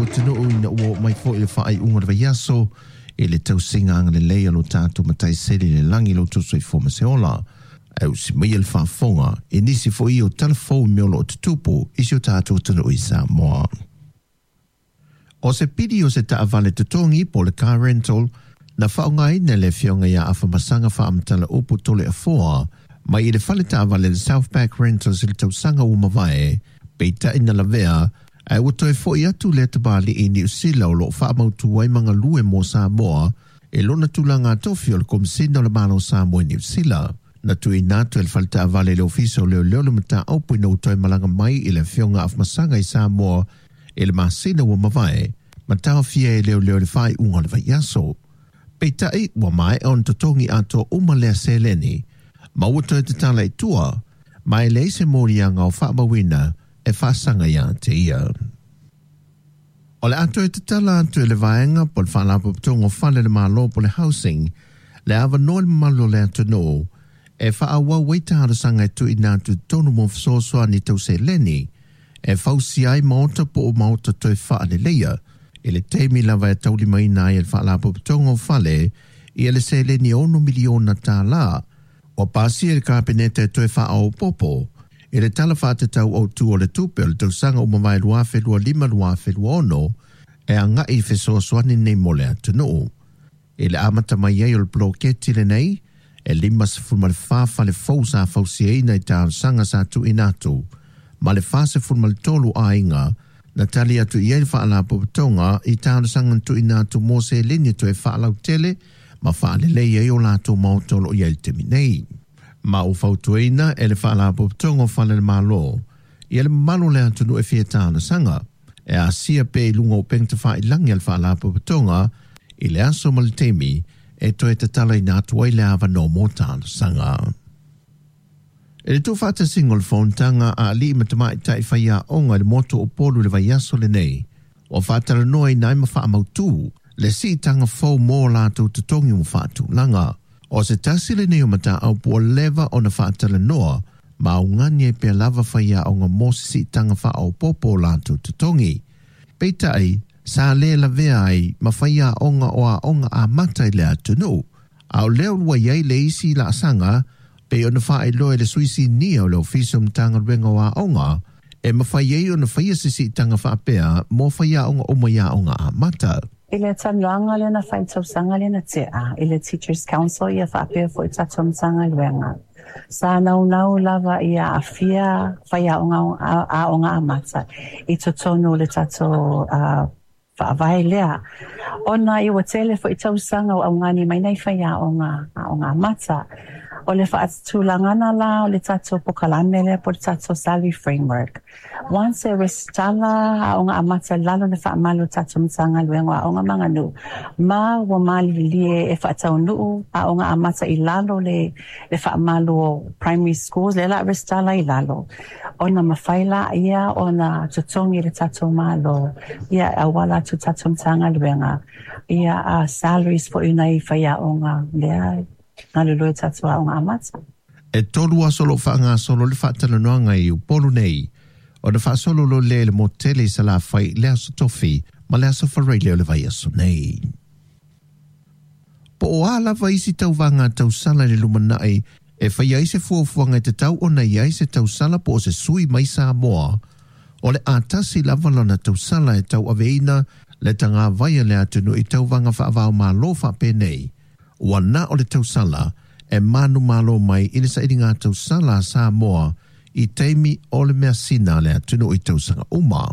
atunuu ina ua oo mai foi le faaiuga o le vaiaso i le tausiga agalelei a lo tatou Matai Sili i le lagi lo outou soifua ma se ola. Ae usi maia le faafofoga i nisi foi o tala fou i mea o lo o tutupu i si o tatou atunuu i Samoa. O se pili o se taavale totogi po o le car rental na faaaogaina e le Afioga ia Afamasaga Faamatala-upu Toleafoa mai i le fale taavale le Southpac Rentals i le tausaga ua mavae, peitai na lavea ae ua toe foi atu lea tamalii i Niu Sila o lo o faamautu ai ma galue mo Samoa i lona tulaga tofi o le Komesina o le Malo o Samoa i Niu Sila. Na tuuina atu e le fale taavale i le Ofisa o Leoleo le mataupu ina ua toe malaga mai i le Afioga Afamasaga i Samoa i le masina ua mavae, ma taofia e leoleo i le faaiuga o le vaiaso. Peitai, ua maea ona totogi atoa uma lea seleni, ma ua toe tatala i tua, ma e leai se moliaga o faamauina e faasaga ia te ia. O le a toe tatala atu e le vaega po o le Faalapotopotoga o Fale a le Malo po o le Housing le avanoa i le mamalu o le atunuu e faaauau ai talosaga e tuuina atu i totonu mo fesoasoani tau seleni e fausia ai maota po o maota toe faaleleia i le taimi lava e taulimaina ai e le Faalapotopotoga o Fale ia le seleni e $6 miliona tālā ua pasia e le Kapeneta e toe faaopoopo i le Tala Faatatau Autu o le Tupe o le tausaga ua mavae 2025/2026 e agai i fesoasoani nei mo le atunuu. I le amata mai ai o le poloketi lenei, e 54 fale fou sa fausiaina i talosaga sa tuuina atu, ma le 43 aiga na tali atu i ai le Faalapotopotoga i talosaga na tuuina atu mo seleni e toe faalautele ma faalelei ai o latou maota o lo o i ai i le taimi nei. Ma ua fautuaina e le Faalapotopotoga o Fale a le Malo ia le mamalu o le atunuu e fia talosaga e asia pea i luga o upega tafailagi a le Faalapotopotoga i le aso ma le taimi e toe tatalaina atu ai le avanoa mo talosaga. I le tuufaatasiga o le fonotaga a alii ma tamaitai faiaoga i le motu o Upolu i le vaiaso lenei, ua faatalanoaina ai ma faamautu le siitaga fou mo latou totogi ua faatulaga. O se tasi lenei o mataupu ua leva ona faatalanoa ma augani ai pea lava faiaoga mo se siitaga faaopoopo o latou totogi. Peitai, sa le lavea ai ma faiaoga o aoga amata i le atunuu, a o lea ua i ai le isi laasaga pei ona faailoa e le sui sinia o le Ofisa o Matagaluega o Aoga e mafai ai ona faia se siitaga faapea mo faiaoga uma i aoga amata. I le talanoaga lea na fai i le tausaga lea na tea i le Teachers Council ia faapea foi tatou Matagaluega, sa naunau lava ia aafia faiaoga aoga amata i totonu o le tatou faavae lea, ona ua tele foi tausaga o augani mai nai faiaoga aoga amata. O le faatulagaga la o le tatou polokalame lea po o le tatou salary framework, once e resitala aoga amata i lalo o le faamalu o le tatou Matagaluega o Aoga ma Aganuu, ma ua malilie e faataunuu aoga amata i lalo le faamalu o primary schools, lea o le a resitala i lalo, ona mafai lea ona totogi e le tatou Malo ia e auala atu i le tatou Matagaluega ia salaries foi o nai faiaoga lea e galulue i tatou aoga amata. E 3 aso o lo o faagasolo le faatalanoaga i Upolu nei, ona faasolo loa lea i le motu tele i Salafai i le Aso Tofi ma le Aso Faraile o le vaiaso nei. Po o a lava isi tauvaga tausala i le lumanai e faia ai se fuafuaga e tatau ona i ai se tausala po o se sui mai Samoa, o le a tasi lava lona tausala e tauaveina le tagavai a le atunuu i tauvaga faava-o-Malo faapenei. Ua na o le tausala e manumalo mai i le sailiga tausala a Samoa i taimi o le measina a le atunuu i tausaga uma.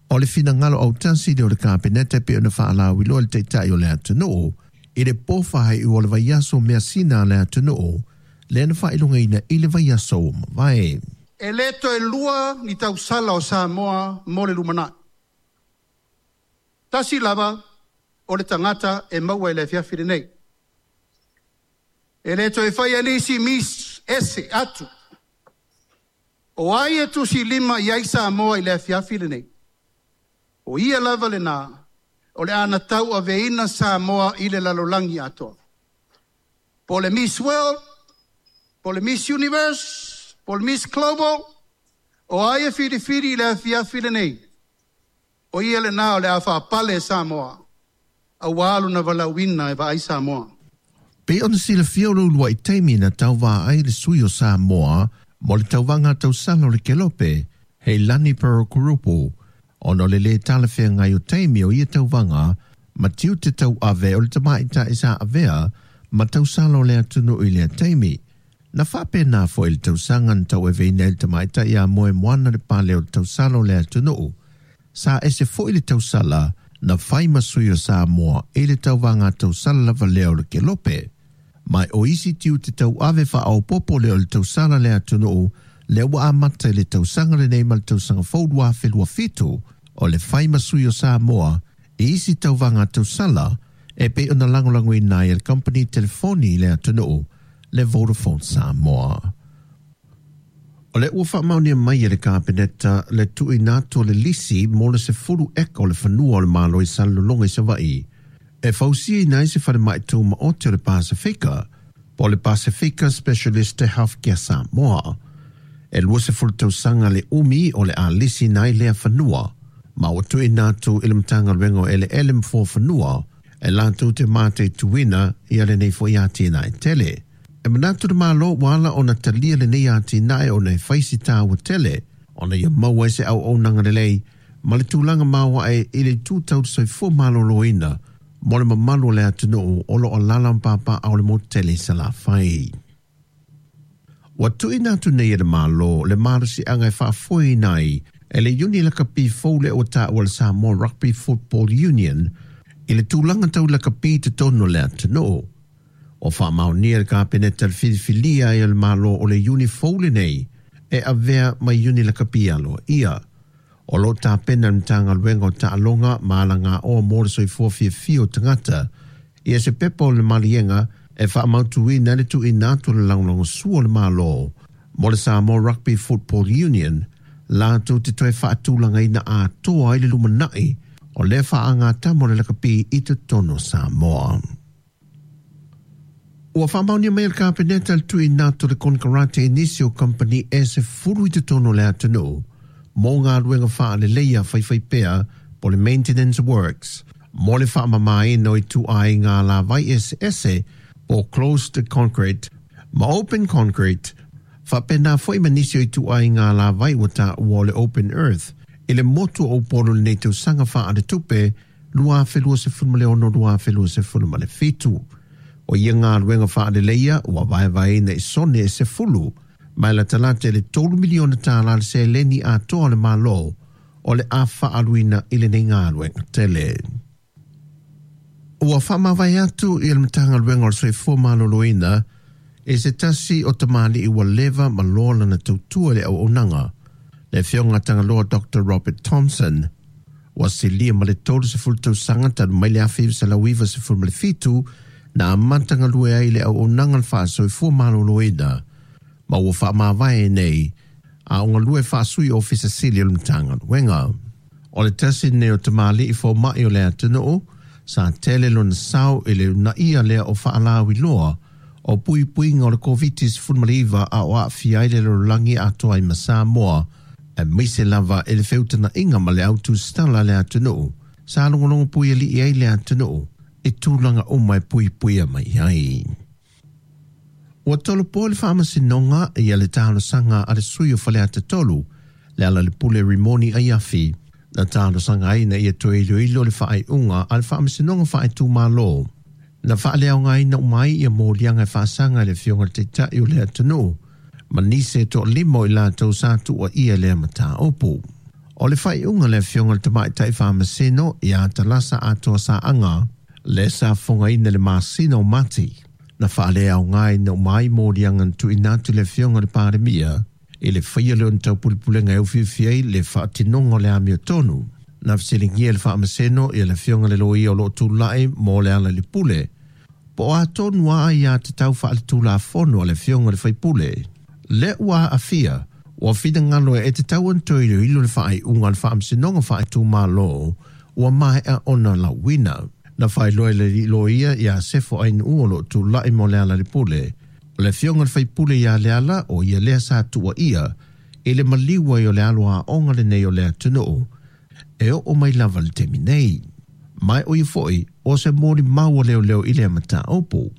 O le finagalo autasi lea o le Kapeneta e pei ona faalauiloa e le Taitai o le atunuu i le po faaiu o le vaiaso measina a le atunuu lea na faailogaina i le vaiaso ua mavae. E le toe lua ni tausala o Samoa mo le lumanai. Tasi lava o le tagata e maua i le afiafi lenei. E le toe faia nisi Miss ese atu. O ai e tusi lima i ai Samoa i le afiafi lenei. O ia lava lena, o le a tauaveina Samoa i le lalolagi atoa. Po o le Miss World, po o le Miss Universe, po o le Miss Global, o ai e filifili i le afiafi lenei. O ia lenā o le a faapale e Samoa, auā lona valaauina e vaai Samoa. Pei ona silafia o le uluai taimi na tauvā ai le sui o Samoa mo le tauvaga tausala o le Kelope, Heilani Pearl-Kuruppu, ona o le lē talafeagai o taimi o ia tauvaga ma tiute tauave o le tamaitai sa avea ma tausala o le atunuu i lea taimi. Na faapena foi i le tausaga na tauaveina ai le tamaitai ia Moemoana le pale o le tausala o le atunuu. Sa ese foi le tausala na fai ma sui o Samoa i le tauvaga tausala lava lea o le Kelope. Ma o isi tiute tauave faaopoopo lea o le tausala le atunuu lea ua amata i le tausaga lenei ma le tausaga fou 2027 o le fai ma sui o Samoa i isi tauvaga tausala e pei ona lagolagoina ai e le kamupani telefoni i le atunuu le Vodafone Samoa. O lea ua faamaonia mai e le Kapeneta le tuuina atu o le lisi mo le 10 eka o le fanua o le Malo i Salelologa i Savaii e fausiaina ai se falemai tumaoti o le Pasefika po o le Pasefika Specialist Healthcare Samoa. E 20 tausaga le umi o le a lisiina ai lea fanua, ma ua tuuina atu i le Matagaluega o Eleele ma Fuafanua e latou te mataituina ia lenei foi atinae tele. E manatu le Malo ua ala ona talia lenei atinae ona e fai si taua tele ona ia maua ai se auaunaga lelei ma le tulaga maoae i le itu tau le soifua maloloina mo le mamalu o le atunuu o lo o alaala ma papaaao i le motu tele i Salafai. Ua tuuina atu nei e le Malo le malosiaga e faafoeina ai e le iuni lakapi fou lea ua taua le Samoa Rugby Football Union i le tulaga tau lakapi i totonu o le atunuu. Ua faamaonia e le Kapeneta le filifilia ai o le Malo o le iuni fou lenei e avea ma iuni lakapi aloaia. O lo o tapena e le Matagaluega o Taaloga ma Alagaoa mo le Soifua Fiafia o Tagata ia se pepa o le maliega e faamautuina ai le tuuina atu o le lagolagosua o le Malo mo le Samoa Rugby Football Union latou te toe faatulagaina atoa ai le lumanai o lea faagatama o le lakapi i totonu o Samoa. Ua faamaonia mai e le Kapeneta le tuuina atu o le konekarate i nisi o kamupani e 10 i totonu o le atunuu mo galuega faaleleia faifaipea po o le maintenance works mo le faamamaina o ituaiga alavai eseese po o closed concrete ma open concrete faapena foi ma nisi o ituaiga alavai ua taua o le open earth i le motu o Upolu i lenei tausaga faaletupe 2026-2027. O ia galuega faaleleia ua vaevaeina i sone e 10 ma e latalata i le $3 miliona le seleni atoa a le Malo o le a faaaluina i lenei galuega tele. Ua faamavae atu i le Matagaluega o le Soifua Maloloina i se tasi o tamalii ua leva ma loa lana tautua i le auaunaga, le Afioga Tagaloa Doctor Robert Thompson. Ua silia ma le 30 tausaga talu mai le 1997 na amata galue ai i le auaunaga le faasoifua maloloina, ma ua faamavae nei a o galue faasui Ofisa Sili o le Matagaluega. O le tasi lenei o tamalii fomai o le atunuu sa tele lona sao i le uunaia lea o faalauiloa o puipuiga o le Koviti-19 a o aafia ai le lalolagi atoa ai ma Samoa, aemaise lava i le feutagaiga ma le autusitala a le atunuu sa logologo puialii ai le atunuu i tulaga uma e puipuia mai ai. Ua tolopo e le Faamasinoga ia le talosaga a le sui o Faleata 3, Lealailepule Rimoni Aiafi, na talosaga ai ina ia toe iloilo le faaiuga a le Faamasinoga Faaitumalo na faaleaogaina uma ai ia moliaga e faasaga i le Afioga i le Taitai o le atunuu ma nisi e toalima o i latou sa tuuaia i lea mataupu. O le faaiuga a le Afioga i le Tamaitai Faamasino ia Talasa Atoa Saaga, lea sa fofogaina i le masina o Mati, na faaleaogaina uma ai moliaga na tuuina atu i le Afioga i le Palemia i le faia lea o ni taupulepulega e ufiufi ai le faatinoga o le amiotonu. Na fesiligia e le Faamasino ia le Afioga i le Loia o lo o tulai mo Lealailepule, po o a tonu a aiatatau faaletulafono a le Afioga i le Faipule lea ua aafia, ua finagalo e tatau ona toe iloilo le faaiuga a le Faamasinoga Faaitumalo ua maea ona lauina. Na faailoa e le Loia ia Sefo Ainuu o lo o tulai mo Lealailepule, o le Afioga i le Faipule ia Leala o ia lea sa tuuaia i le maliu ai o le alo aoga lenei o le atunuu. e oo mai lava i le taimi nei. Ma o ia foi o se molimau a leoleo i lea mataupu.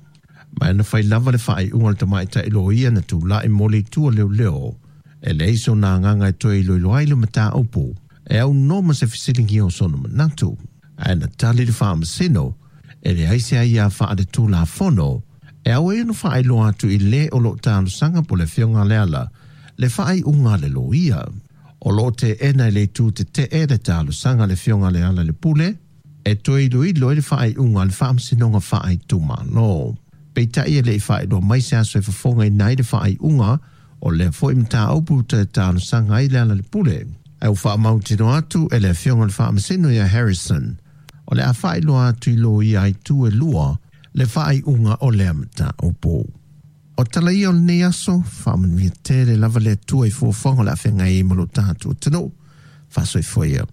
Ma na fai lava le faaiuga a le tamaitai loia na tulai mo le itu a leoleo, e leai sona agaga e toe iloilo ai le mataupu e aunoa ma se fesiligia o sona manatu. Ae na tali le faamasino e leai se aia faaletulafono e ao ai ona faailoa atu i le o lo o talosaga po o le Afioga a Leala le faaiuga a le loia. O lo o teena e le itu tetee le talosaga a le Afioga a Lealailepule e toe iloilo ai le faaiuga a le Faamasinoga Faaitumalo. Peitai e le i faailoa mai se aso e fofogaina ai le faaiuga o lea foi mataupu toe talosaga ai Lealailepule. Ae ua faamautinoa atu e le Afioga i le Faamasino ia Harrison, o le a faailoa atu i loia a itu e lua le faaiuga o lea mataupu. O tala ia o lenei aso, faamanuia tele lava le Atua i fuafuaga o le a feagai ai ma lo tatou atunuu. Faasoifua ia.